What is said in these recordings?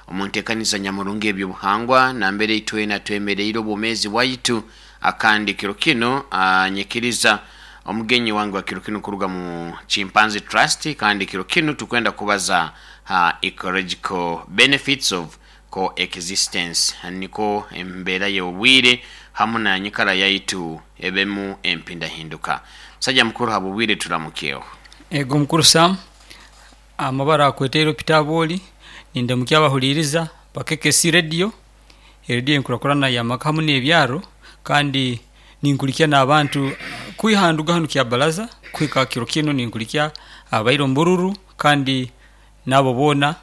Omu nteekaniza nyamurungi eby'obuhangwa nambere itwena twemereire obwomeezi bwaitu. Kandi kiro kinu nyikiriza omugenyi wange wa kiro kinu kuruga mu Chimpanzee Trust, kandi kiro kinu tukwenda kubaza ha ecological benefits of coexistence, nikwo embeera y'obwire hamu na nyikara yaitu ebemu empindahinduka. Musaija mukuru, habw'obwire turamukyeho. Ego mukuru Sam, amabara akwetaire Peter Aboli, nindamukya abahuliiriza ba KKC Radio, erediyo enkurakurana y'amaka hamu n'ebyaro, kandi ninkulikya n'abantu kwiha nduga hanu Kyabalaza kuhika kiro kinu ninkulikya ababaire omu bururu kandi n'abo boona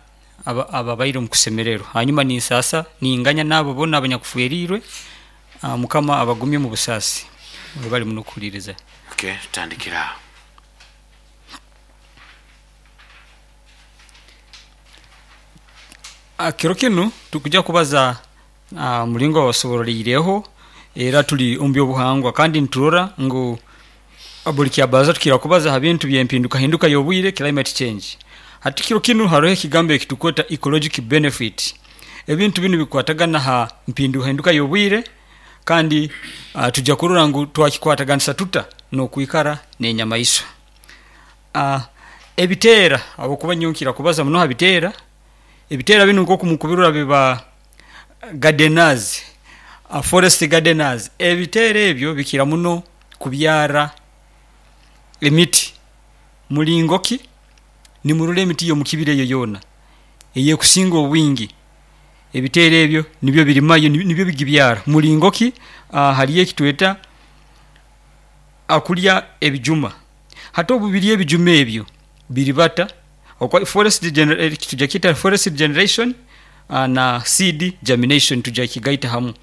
ababaire omu kusemererwa. Hanyuma ninsaasa ninganya n'abo boona abanyakuferiirwe, Mukama abagumye omu busaasi. Mwebale muno kuhuliiriza. Okay, tutandikire aho. Kiro kinu tukuja kubaza ha mulingo babasoboroleireho era tuli omu by'obuhangwa kandi niturora ngu buli kyabaraza tukira kubaza ha bintu by'empindukahinduka y'obwire, climate change. Hati kiro kinu haroho ekigambo ekitukweta ecologic benefit. Ebintu binu bikwatagana ha mpindukahinduka y'obwire kandi tuja kurora ngu twakikwataganisa tuta n'okwikara n'enyamaiswa. Ebiteera, habwokuba nyowe nkira kubaza muno ha biteera, ebiteera binu nk'oku mukubirora biba gardeners, forest gardeners. Ebiteera ebyo bikira muno kubyara emiti. Mulingo ki? Nimurora emiti y'omukibira eyo yoona ey'ekusinga obwingi, ebiteera ebyo nibyo birimayo, nibyo bigibyara. Mulingo ki? Hariyo ekitweta kulya ebijuma. Hati obu birya ebijuma ebyo, biribata, tugya kyeta forest regeneration na seed germination tugya kigaita hamu.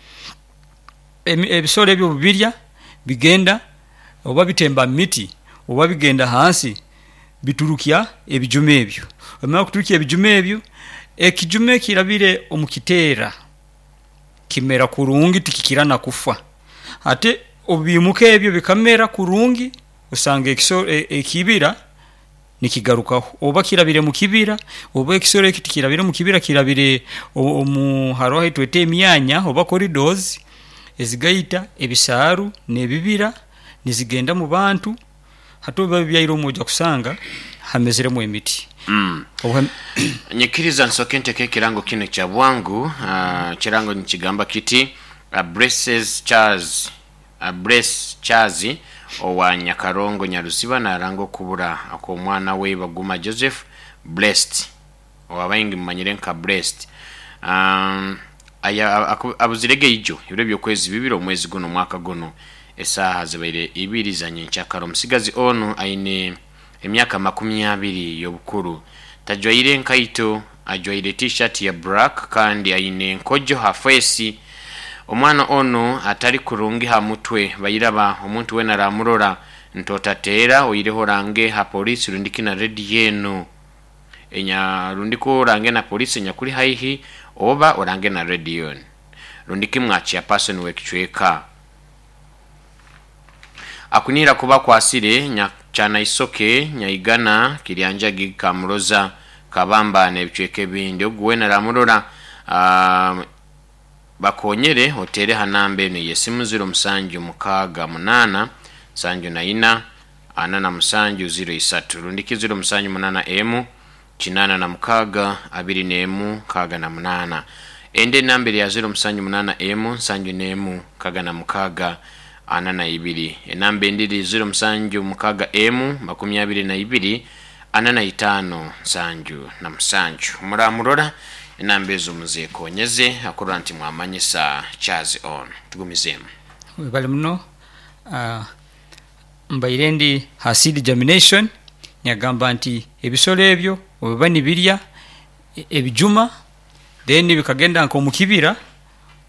Ebisolo ebyo obu birya, bigenda oba bitemba mu miti oba bigenda hansi biturukya ebijuma ebyo. Obu bimara kuturukya ebijuma ebyo, ekijuma ekirabire omu kiteera kimera kurungi tikikira na kufa. Ate obu biimuka ebyo bikamera kurungi, osanga ekibira nikigarukaho. Oba kirabire mu kibira, oba ekisolo ekyo tikirabire mu kibira kirabire omu haroho ahi tweta emyanya oba corridors ezigaita ebisaaru n'ebibira nizigenda mu bantu. Hati obu biba bibyaire omwo oja kusanga hameziremu emiti. Nyikiriza nsooke nteke ekirango kinu ekya bwangu. Ekirango nikigamba kiti, Blesses Charles, Bless Charles owa Nyakarongo Nyaruziba naranga okubura okw'omwana we Baguma Joseph Blessed owa baingi mumanyire nka Blessed. Abuzirege ijo ebiro by'okwezi bibiri omwezi gunu omwaka gunu esaaha zibaire ibiri za nyenkyakara. Omusigazi onu aine emyaka makumi abiri y'obukuru. Tajwaire nkaito, ajwaire T-shirt ya black kandi aine enkojo ha feesi. Omwana onu atari kurungi ha mutwe bairaba omuntu weena aramurora nti otateera oireho orange ha poliisi rundiki na rediyo enu enya rundiki orange na poliisi enyakuri haihi oba orange na rediyo enu rundiki mwa chairperson w'ekicweka. Akunihira kuba akwasire Nyakyana'isoke, Nyaigana, Kiryanjagi, Kamuroza, Kabamba n'ebicweka ebindi. Ogu weena aramurora bakonyere oteere ha namba enu ey'esimu ziro musanju mukaaga munaana nsanju na ina ana na musanju ziro isatu rundiki ziro musanju munaana emu kinaana na mukaaga abiri n'emu nkaaga na munaana. Endi enamba eri ya ziro musanju munaana emu nsanju n'emu nkaaga na mukaaga ana na ibiri. Enamba endi eri ziro musanju mukaaga emu makumi abiri na ibiri ana na itaano nsanju na musanju. Muramurora enamba ezo muzekonyeze akurora nti mwamanyisa Charles on. Tugumizeemu. Webale muno. Mbaire ndi ha seed germination yagamba nti ebisolo ebyo bwebiba nibirya ebijuma then bikagenda nka omukibira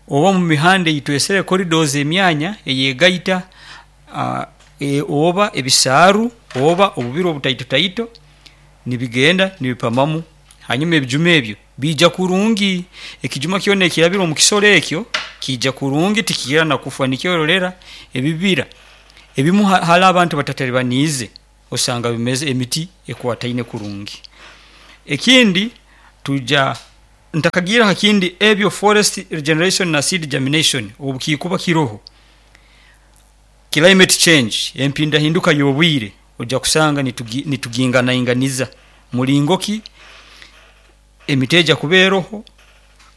oba omu mihanda eyitwesere corridors emyanya eyegaita oba ebisaaru oba obubira obutaitotaito nibigenda nibipamamu hanyuma ebijuma ebyo biija kurungi. Ekijuma kyona ekirabire omu kisolo ekyo kiija kurungi tikikira na kufa. Nikyo orolera ebibira ebimu hali abantu batataribaniize osanga bimeze emiti ekwataine kurungi. Ekindi tuja. Ntakagira ha kindi, ebyo forest regeneration na seed germination obu kikuba kiroho, climate change, empindahinduka y'obwire, ojja kusanga nituginganainganiza mulingo ki emiti ejya kuba eroho.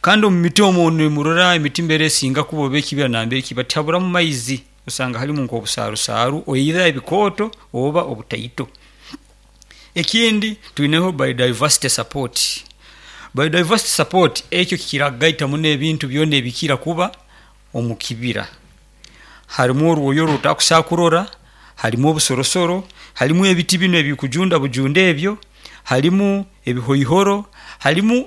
Kandi omu miti omu nimurora emiti mbere esinga kuba oba ekibira nambere kiba tihaburamu maizi, osanga halimu nk'obusarusaaru oida ebikooto oba obutaito. Ekindi twineho biodiversity support. Biodiversity support ekyo kikira kugaita muno ebintu byona ebikira kuba omu kibira. Harimu orwoya oru otakusobola kurora, harimu obusorosoro, harimu ebiti binu ebikujunda bujunda ebyo, harimu ebihoihoro, harimu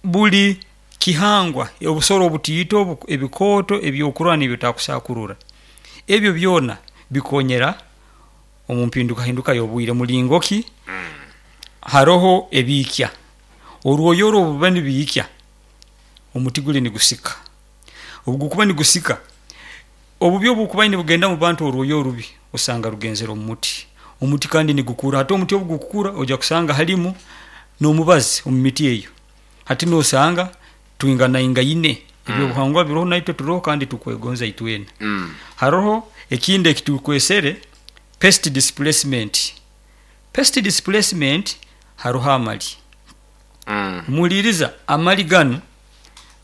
buli kihangwa, obusoro obutiito ebikooto ebyokurora nebi otakusobola kurora. Ebyo byona bikonyera omu mpindukahinduka y'obwire. Mulingo ki? Haroho ebiikya, orwoya oru obu biba nibiikya, omuti guli nigusika, obu gukuba nigusika, obubi obukuba nibugenda mu bantu, orwoya orubi osanga rugenzere omu muti, omuti kandi nigukura. Hati omuti obu gukukura ojya kusanga harimu n'omubazi omu miti eyo, hati nosanga twinganaingaine, ebyobuhangwa biroho naitwe turoho kandi tukwegonza itwena. Haroho ekindi ekitukwesere pest displacement. Pest displacement, haroho amali. Muhuliriza, amali ganu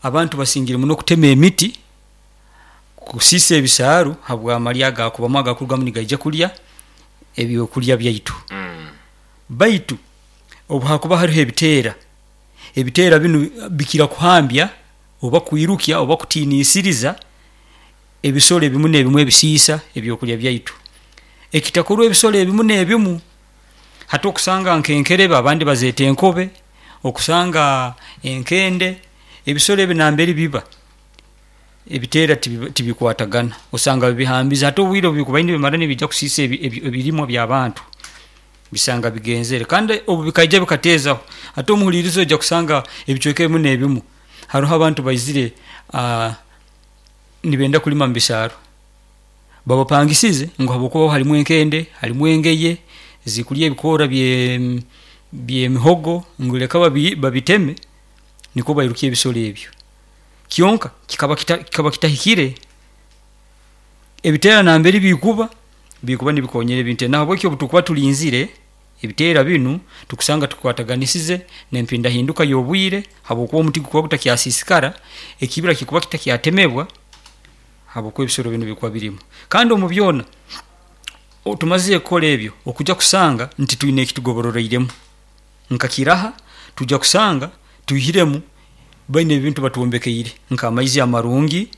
abantu basingire muno kutema emiti, kusiisa ebisaaru habw'amali agakubamu agakurugamu nigaija kulya ebyokurya byaitu. Baitu obu hakuba haroho ebiteera, ebiteera binu bikira kuhambya oba kwirukya oba kutiinisiriza ebisoro ebimu n'ebimu ebisiisa ebyokurya byaitu. Ekitakorwa ebisoro ebimu n'ebimu, hati okusanga nk'enkerebe abandi bazeeta enkobe, okusanga enkende, ebisoro ebi nambere biba, ebiteera tibikwatagana, osanga bibihambize. Hati obwire obu bikuba nibimara nibiija kusiisa ebirimwa by'abantu, bisanga bigenzere. Kandi obu bikaija bikateezaho, hati omuhuliiriza oija kusanga ebicweka ebimu n'ebimu haroho abantu baizire nibenda kulima mu bisaaru, babapangisize ngu habwokuba harimu enkende, harimu engeye zikurya ebikoora by'emihogo, ngu leka babiteme nikwo bairukye ebisoro ebyo. Kyonka kikaba kitahikire, ebiteera nambere bikuba, bikuba nibikonyera ebintu ebi. Nahabweki obu tukuba turinzire ebiteera binu, tukusanga tukwataganisize n'empindahinduka y'obwire habwokuba omuti gukuba gutakyasiisikara, ekibira kikuba kitakyatemebwa habwokuba ebisoro binu bikuba birimu. Kandi omu byona, tumazire kukora ebyo, okujya kusanga nti twine eki tugobororoiremu nka Kiraha, tujya kusanga twihiremu baine ebintu batwombekeire nk'amaizi amarungi,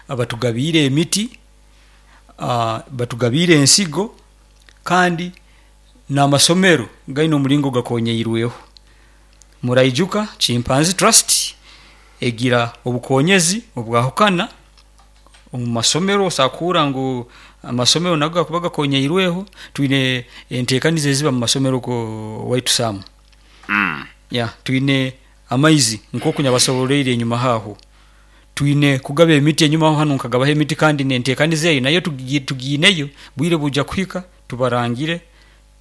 batugabiire emiti, batugabiire ensigo, kandi n'amasomero gaine omuringo gakonyeirweho. Muraijuka Chimpanzee Trust egira obukonyezi obwahukana omu masomero, osobola kuhurra ngu amasomero nago gakuba gakonyeirweho, twine enteekaniza eziba mu masomero owaitu Sam. Yeah, twine amaizi nkoku nabasobororeire enyumaho aho, twine kugaba emiti enyumaho hanu nkagabaho emiti kandi n'enteekaniza eyo nayo tugiineyo, bwire bujya kuhika tubarangire,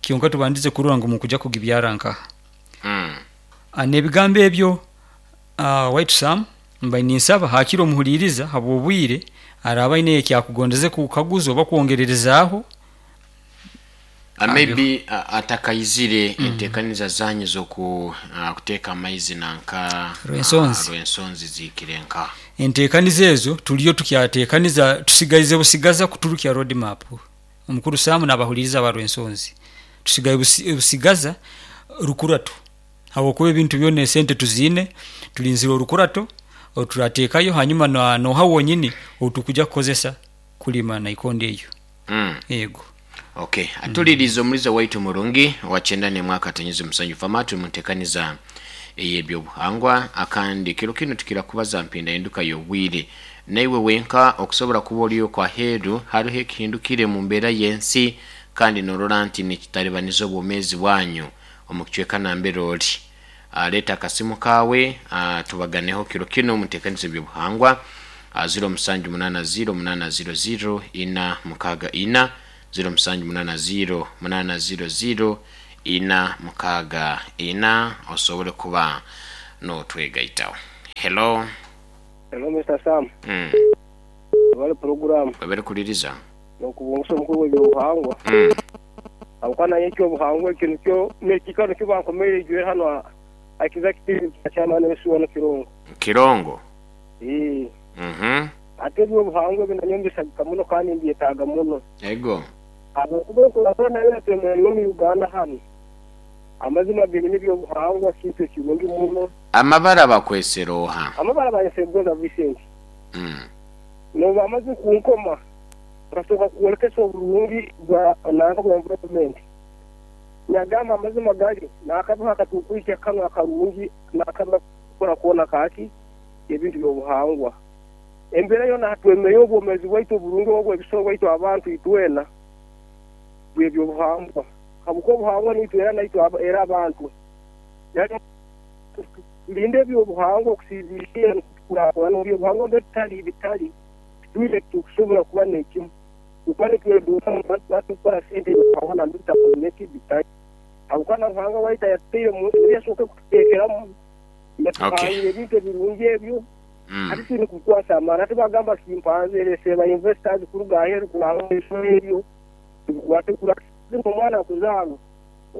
kyonka tubandize kurora ngu mukuja kugibyara nkaha. N'ebigambo ebyo owaitu Sam, mbaire ninsaba hakire omuhuliiriza habw'obwire araaba aineyo eki akugondeze kukaguza oba kwongererezaaho. Maybe atakaizire enteekaniza zanyu z'okuteeka amaizi nanka Rwensonzi. Rwensonzi zihikire nka? Enteekaniza ezo turiyo tukyateekaniza, tusigaize busigaza kuturukya road map. Omukuru Sam n'abahuliiriza aba Rwensonzi, tusigaire busigaza rukurato habwokuba ebintu byona esente tuziine, turinzire orukurato oruturateekayo hanyuma noha wonyini ou tukuja kukozesa kulima naikondo eyo. Ego. Ok, atuliriize omuliza waitu murungi owa kyenda n'emwe akatonyeza omusanju fama. Turi muntekaniza ey'ebyobuhangwa akandi kiro kinu tukira kubaza mpindahinduka y'obwire. Naiwe wenka okusobora kuba ori okwo aheeru hariho ekihindukire mu mbeera y'ensi kandi norora nti nikitaribaniza obwomeezi bwanyu omu kicweka nambere ori. Leeta akasimu kaawe tubaganeho kiro kinu omu nteekaniza y'ebyobuhangwa, 0780 800 464, 0780 800 464 osobole kuba notwegaitaho. Hello. Hello Mister Sam. Webale puroguramu. Webale kuliriza. Nokubungusa omukuru w'ebyobuhangwa. Habwokuba nanye ekyobuhangwa ekyo nikyo nekikaro nikyo bankomeire ijwire hanu aha Kizaki TV kya Chairman Ensi wano Kirongo. Kirongo. Eeh. Ate ebyobuhangwa ebi nanyowe mbisagika muno kandi mbyetaaga muno. Ego. Habwokuba enkurakurana yoona twemereire omu Uganda hanu, amazima genyini ebyobuhangwa kintu ekirungi muno. Amabara bakwesera oha? Amabara banyesere Gonza Vincent. Nobu bamaze kunkoma, nkasooka kwolekesa oburungi bwa nanka bwa environment. Nagamba amazima gari, nakabiho akatukwikya kanu akarungi nakabi kukora koona kaki ebintu by'obuhangwa. Embeera yoona hatwemereire obwomeezi bwaitu oburungi obw'ebisoro bwaitu abantu itwena bw'ebyobuhangwa. Habwokuba obuhangwa nitwe era naitwe era abantu. Tulinde eby'obuhangwa okusinziirira nukwo tukurakurana omu by'obuhangwa mbere tutali bitali titwine ekitukusobora kuba n'ekimu. Tukuba nitweduuka tukora sente eby'obuhangwa nambere tutakozire ki bitali. Habwokuba na Ruhanga waitu ayatutaire omu nsi niwe yasooka kututeekeramu yatuhangire ebintu ebirungi ebyo. Hati twine kubikwasa amaani. Hati bagamba chimpanzee ereesere ba investors kuruga aheeru kuranga ebisoro ebyo tubikwate kurungi. Omwana akuzaarwa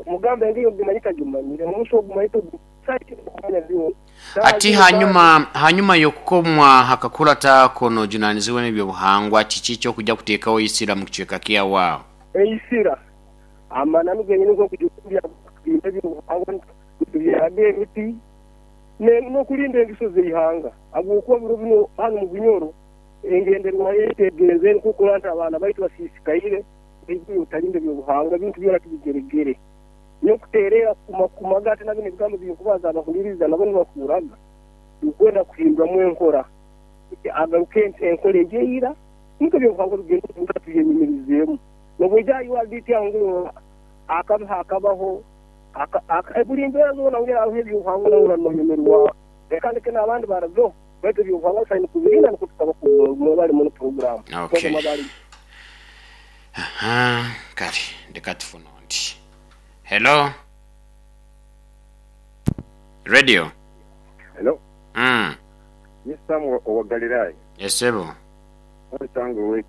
omugamba engeri ogimanyire tagimanyire, omusi ogumanyire togumanyire. Ati hanyuma hanyuma y'okukomwa hakakurata ako n'ojunanizibwa n'eby'obuhangwa, kiki eky'okuja kuteekaho eisira mu kicweka kyawe aho? Eisira, amananu genyini nk'okujumbya kurinda eby'obuhangwa nitubyaraga emiti n'okurinda engeso z'eihanga habwokuba biro binu hanu mu Bunyoro engenderwaho yaitu egenzere nk'okurora nti abaana baitu basiisikaire baitu otarinda eby'obuhangwa ebintu byona tubigeregere. Nyowe kuteereera kukumakumaga ate nabyo n'ebigambo ebinkubaza abahuliriza nabo nibahurraga nkwenda kuhinduramu enkora agaruke enkora egyo eira nikwo ebyobuhangwa bigende omuka tubyenyumirizeemu. Nobwoija aha URDT aho ngu akabi hakabaho buri mbeera zoona ngu hariho ebyobuhangwa nohurra nonyumirwa. Reka ndeke n'abandi barabeho baitu ebyobuhangwa tusaine kubirinda nikwo tukaba mwebale muno puroguramu. Okay. Aha, kale ndeka tufune ondi. Hello. Radio. Hello. Ni Sam owa Galilaya. Esebo. Omusango we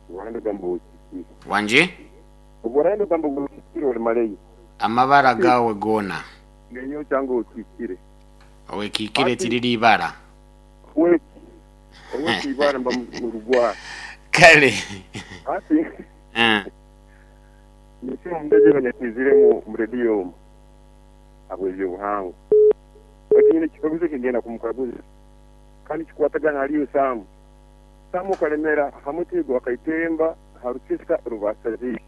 Obuhanda ogamba owekiikire. Wangi? Obuhanda ogamba owekiikire oli maleyo. Amabara gawe goona. Nenyowe kyange owekiikire. Owekiikire tiriri ibara. Oweki oweki ibara mba mu rugwara. Kale. Hati ninsiima omubeezi abanyakwiziremu omu rediyo omu habw'ebyobuhangwa. Baitu nyine ekikaguzo eki ngenda kumukaguza kandi kikwatagana hali iwe Sam. Sam okalemera ha muti gwa Kaitemba ha Rukisa Rubasaziire.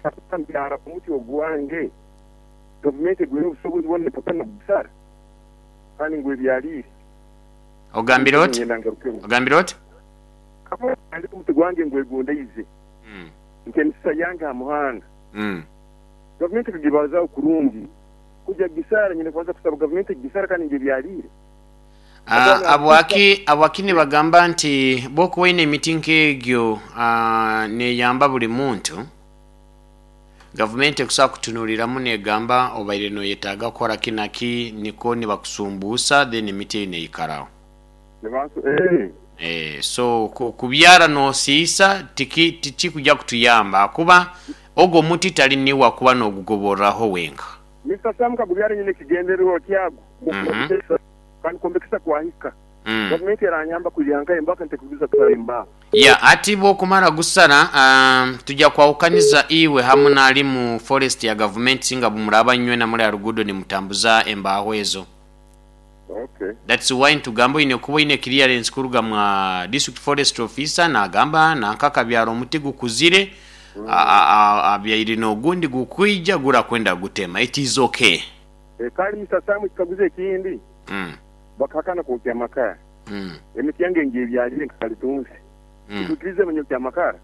Kakuba mbyara omuti ogwange, gavumenti egwine obusobozi bwona nepaka nokugusara kandi ngwebyaliire. Ogambire oti? Ngenda ngarukemu. Ogambire oti? Kakuba ntandika omuti gwange ngwegondaize nk'emisisa yange ha muhanda, gavumenti ekagibazaaho kurungi kugya kugisara, nyine kubanza kusaba gavumenti egigisara kandi ngyebyaliire. Habwaki habwaki nibagamba nti bwokuba oine emiti nk'egyo neyamba buli muntu, gavumenti ekusobola kutunuliramu negamba obaire noyetaaga kukora ki na ki nikwo nibakusumbuusa then emiti eyo neyikaraho. So kubyara nosiisa tiki tikikuja kutuyamba ahakuba ogwo omuti tali niiwe akuba nogugoborraho wenka. Mister Sam Kagubyare nyine ekigendererwa kyago kwombekesa kandi kwombekesa kwahika. Gavumenti eranyamba kwija nkahe embaka ntekuguza kusara embaho. Yeah, ati bwokumara gusara tuja kwahukaniza iwe hamu n'ali mu forest ya gavumenti singa bumuraba nywena muli aha ruguudo nimutambuza embaho ezo. Okay. That's why nitugamba oine kuba oine clearance kuruga mwa district forest officer nagamba nanka akabyara omuti gukuzire abyaire n'ogundi gukwija gurakwenda gutema it is okay. Kale Mister Sam ekikaguzo ekindi bakahakana kwokya amakara emiti yange ngyebyalire nka kalitunsi titwikirize banyokya amakara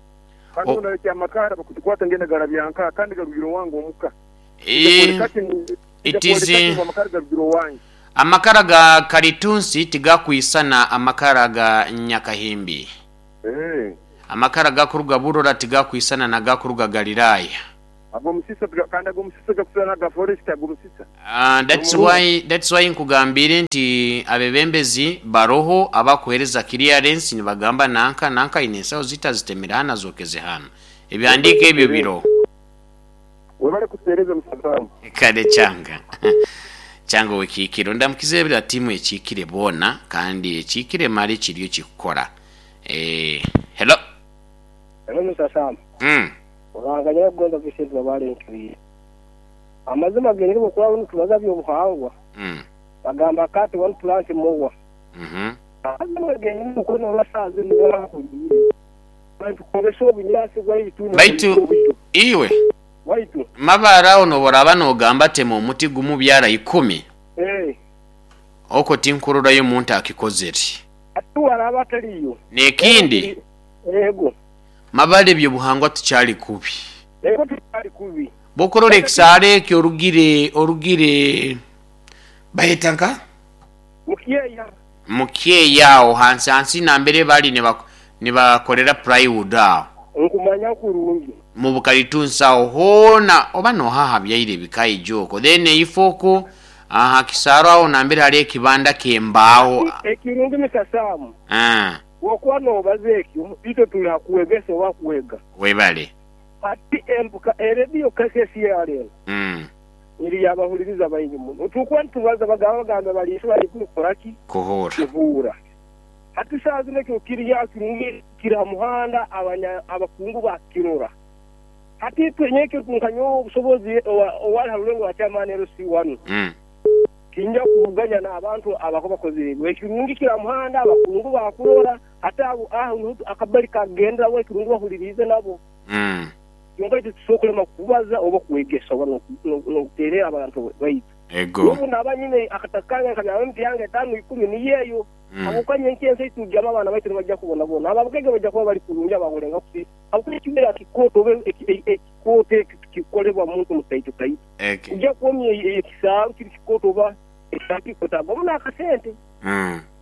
kandi obu nayokya amakara bakutukwata ngenda garabya nkaha kandi garugire owange omuka It is Amakara ga kalitunsi tigakwisana amakara ga Nyakahimbi. Amakara agakuruga Burora tigakwisana nagakuruga Galilaya. Ag'omusisa kandi ag'omusisa gakusana aga forest ag'omusisa. That's why, that's why nkugambiire nti abebembezi baroho abakuhereza clearance nibagamba nanka nanka aine ensaho zaitu azitemere hanu azokeze hanu. Ebihandiiko ebyo biroho. Webale kutuhereza Mister Sam. Kale kyanga kyanga owekiikiro ndamukize bra tiimu ekiikire boona kandi ekiikire male kiriyo kikukora eeh hello. Hello Mister Sam. Ruhanga nyakugonza Vincent Mabale ntwire. Amazima genyini bwokuraba nitubaza byobuhangwa bagamba cut one plant more. Amazima genyini nukwo norora saha zinu wahuliire nitukozesa obunyasi bwaitu Baitu nobulyo iwe bwaitu. Mabare aho noboraba nogamba tema omuti gumu byara ikumi okwo tinkurorayo omuntu akikozere. Ati waraba ataliyo. Nekindi. Ego. Mabare ebyobuhangwa tukyali kubi. Ego tukyali kubi. Bwokurora ekisaaro ekyo orugire orugire bayeta nka? Mukyeya. Mukyeya aho hansi hansi nambere bali nibakorera plywood aho. Nkumanya kurungi. Mubukalitunsi aho hoona oba noha ahabyaire ebikaija okwo then eifo okwo aha kisaaro aho nambere hariho ekibanda kyembaaho. Ati ekirungi Mister Sam, bwokuba nobaza ekyo itwe tuli hakwegesa oba kwega. Webale. Ati embuka erediyo KKCR eno eri yabahuliriza baingi muno. Tukuba nitubaza bagamba bagamba bali bali kukora ki? Kuhuura. Kuhuura. Hati saaha zinu ekyo kiri aho kirungi kiri ha muhanda abanya abakungu bakirora. Hati itwe nyenkyo nka nyowe obusobozi owali ha rulengo rwa chairman LC wanu tinja kuvuganya n'abantu abakuba bakozire ebyo. Ekirungi kiri ha muhanda abakungu bakurora hati abo aho niho akabali kagenderaho ekirungi bahuliriize nabo. Kyonka itwe titusobora kulema kubaza oba kwegesa oba n'okuteerera abantu baitu. N'obu naaba nyine akataka kange nkabyaramu emiti yange etaano ikumi niyo eyo. Habwokuba nyenkya ensi ei turugyaamu abaana baitu nibaija kubonabona. Abo abagaiga baija kuba bali kurungi abahulenga kusi habwokuba ekimera kikooto oba ekikooto ekyo tikikolebwa muntu mutaito taito. Oija kwomya ekisaaru kiri kikooto oba ekisaaru kikooto agwamu n'akasente.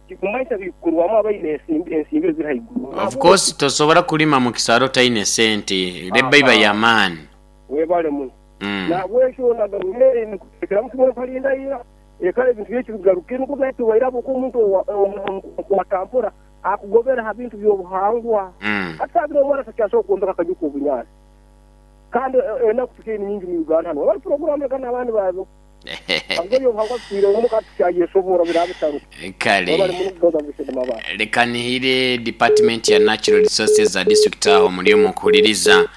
Tikumanyisa bikukorwamu abaine ensimbi eziri haiguru. Of course tosobora kulima mu kisaaru otaine sente, labour iba y'amaani. Webale muno. Nahabwekyo na gavumenti nikutekeramu kimwe nkalinda ira ekare ebintu byaitu bigaruke nukwo baitu wairaba oku omuntu omukwata mpora akugobera ha bintu by'obuhangwa. Hati saha zinu omwana takyasobora kwombeka akaju k'obunyaasi kandi enaku tukaire ni nyingi mu Uganda hanu. Webale puroguramu leka n'abandi babeho. Habwokuba eby'obuhangwa bitwire omu ka tukyayeshoboora biraabe bitaro. Kale Webale muno kugonza Vincent Mabare. leka nihire department ya natural resources za district aho muri omu kuhuririza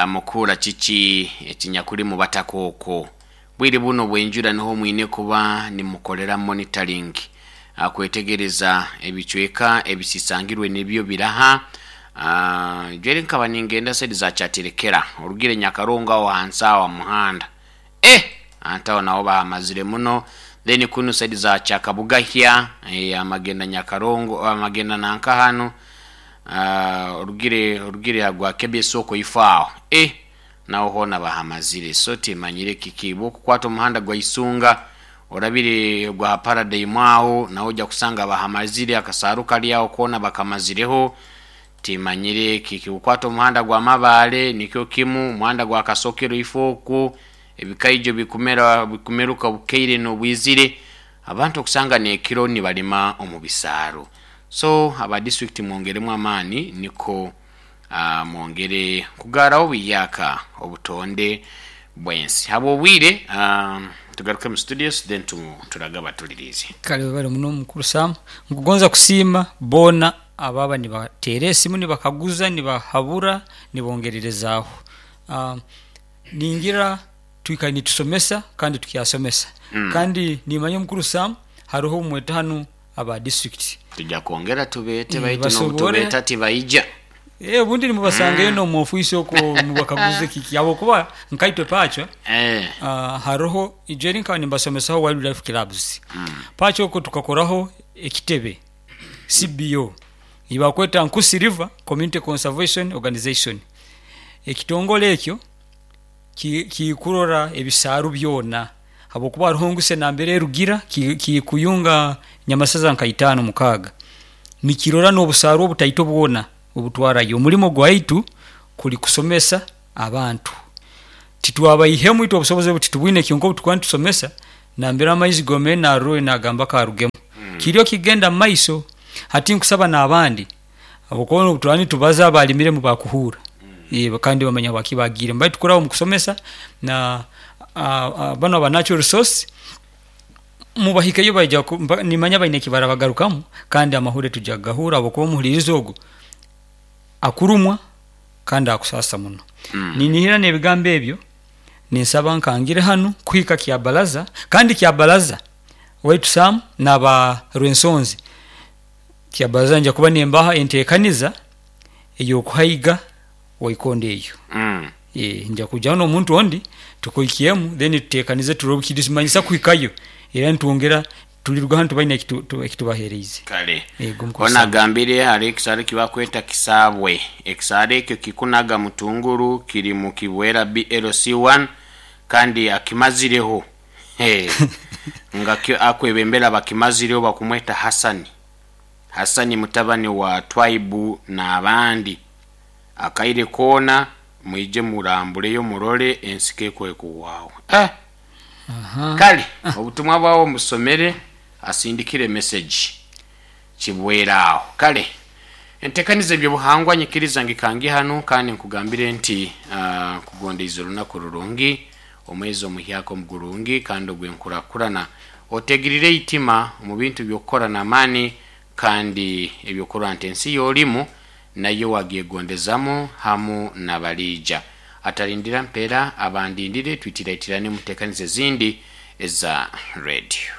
mukuhura kiki ekinyakuri mubataka okwo. Bwire buno obw'enjura niho mwine kuba nimukorera monitoring kwetegereza ebicweka ebisisangirwe nibyo biraha. Jweri nkaba ningenda side za Kyaterekera orugire Nyakarongo aho hansi aho aha muhanda. Eh! Anti aho naho bahamazire muno. Then kunu side za Kyakabugahya, amagenda Nyakarongo, amagenda nanka hanu, orugire orugire aha gwa KBS okwo ifo aho. Eh! Naho hoona bahamazire. So timanyire kiki. Bwokukwata omuhanda gwa Isunga orabire ogwa ha Paradigm aho, naho oja kusanga bahamazire, akasaaru kari aho koona bakamazireho. Timanyire kiki. Bwokukwata omuhanda gwa Mabaale nikyo kimu, omuhanda gwa Kasokero ifo okwo, ebikaijo bikumera bikumeruka obukaire n'obwizire, abantu okusanga n'ekiro nibalima omu bisaaro. So aba disiturikiti mwongeremu amaani niko mwongere kugaaraho obuyaaka obutonde bw'ensi. Habw'obwire tugaruke mu studios then turage abatuliriize. Kale webale muno mukulu Sam. Nkugonza kusiima boona abaaba nibateera esimu nibakaguza, nibahabura, nibongererezaaho. Ningira twikaire nitusomesa kandi tukyasomesa. Kandi nimanya omukulu Sam haroho obumweta hanu aba disiturikiti. Tuja kwongera tubeete baitu n'obutubeeta tibaija. Obundi nimubasangayo n'omu ofiisi okwo mubakaguze kiki habwokuba nkaitwe Pacho haroho ijo eri nkaba nimbasomesaho Wildlife Clubs. Pacho okwo tukakoraho ekitebe CBO eyibakweta Nkusi River Community Conservation Organization. Ekitongole ekyo kikurora ebisaaru byona habwokuba haroho nguse nambere erugira kikuyunga nyamasaza nka itaano mukaaga nikirora n'obusaaru obutaito bwona obutwarayo. Omulimo gwaitu kuli kusomesa abantu. Titwabaihemu itwe obusobozi obu titubwine, kyonka obu tukuba nitusomesa nambere amaizi gomere narora nagamba karugemu. Kiriyo kigenda mu maiso. Hati nkusaba n'abandi, habwokuba obu turaba nitubaza abalimiremu bakuhuura. Kandi bamanya habwaki bagiiremu, baitu kuraba omu kusomesa na banu aba natural resource mubahikeyo, baija nimanya baine ekibarabagarukamu, kandi amahuure tujya kugahuura habwokuba omuhuliriza ogu akurumwa kandi akusasa muno. Ninihira n'ebigambo ebyo ninsaba nkangire hanu kuhika Kyabalaza, kandi Kyabalaza waitu Sam n'aba Rwensonzi, Kyabalaza nja kuba nimbaha entekaniza ey'okuhaiga Waikondo eyo. Nja kwijaho n'omuntu ondi tukuhikyemu, then tutekanize turole obukirimanyisa kuhikayo, era nitwongera tuliruga hanu tubaine ekitubahereize. Kale Ego mukuru ona Sam. Agambire hariho ekisaaro ekibakweta Kisaabwe. Ekisaaro ekyo kikunaga Mutunguru, kiri mu Kibwera BLC1 kandi akimazireho. He, nga kyo akwebembera abakimazireho bakumweta Hasani. Hasani mutabani wa Twaibu n'abandi. Akaire koona mwije murambuleyo murole ensiko ekwekuwaawo. Eh! Kale obutumwa bwawo mbusomere, asindikire message Kibwera aho. Kale entekaniza eby'obuhangwa nyikiriza ngikangi hanu kandi nkugambire nti nkugondeize olunaku rurungi, omwezi omuhyaka omugurungi kandi ogw'enkurakurana. Otegirire eitima omu bintu by'okukora n'amaani kandi eby'okurora nti ensi y'olimu nayo wagyegondezamu hamu n'abaliija. Atalindira mpera abandindire twitiraitiraine mu ntekaniza ezindi eza radio.